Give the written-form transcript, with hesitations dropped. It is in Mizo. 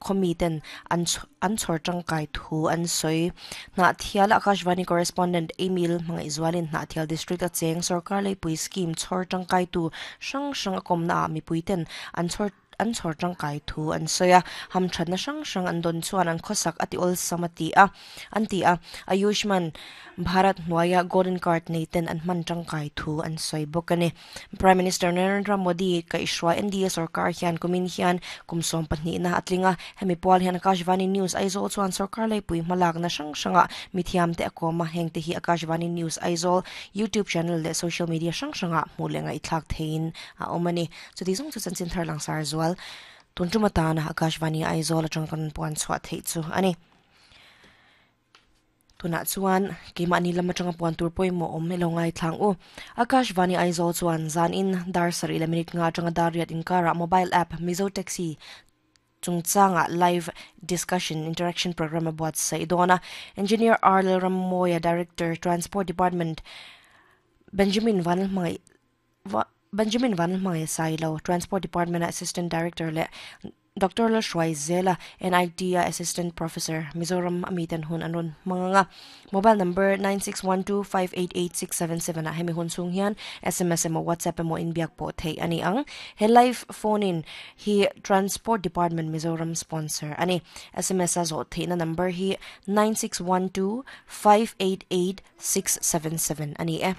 khaw miten an an chhawr tangkai thu an sawi. Hnahthial Akashvani Correspondent Emil Hmangaihzualin Hnahthial District a cheng sorkar leipui scheme chhawr tangkaitu hrang hrang a kawmna ah mipuiten an chhawr an chhawr tangkai thu an sawi a, hamthatna hrang hrang an dawn chuan an khawsak a ti awlsam a ti a, an ti a. Ayushman Bharat hnuaia Golden Card nei ten an hman tangkai thu an sawi bawk a ni. Prime Minister Narendra Modi kaihhruai NDA sorkar hian kumin hian kum 12 na a tling a, hemi pual hian Akashvani News Aizawl chuan sorkar leipui hmalakna hrang hrangah mithiam te a kawm a, heng te hi Akashvani News Aizawl YouTube channel leh social media hrang hrangah hmuh leh ngaihthlak theihin a awm a ni. Chuti zawng chu chanchin thar langsar zual tun tum atana Akashvani Aizawl atang kan puan chhuah theih chu a ni. Tunah chuan keimahni lam atanga puan tur pawimawh awm ilo ngaithlang u. Akashvani Aizawl chuan zan in dar sarih leh minute nga atanga dar riat inkarah mobile app Mizo Taxi chungchanga live discussion interaction program a buatsaih dawn a. Engineer R Lalrammawia Director Transport Department Benjamin Vanlalhmangaih Benjamin Vanlalhmangaih Sailo Transport Department-a Assistant Director leh Doctor Lalhruai Zela NIT-a Assistant Professor Mizoram a miten hun an rawn hmang ang a. Mobile number 9612588677 ah hemi hun chhung hian sms emaw WhatsApp emaw inbiak pawh theih a ni ang. He live phone in hi Transport Department Mizoram sponsor a ni. Sms a zawh theihna number hi 9612588677 a ni e.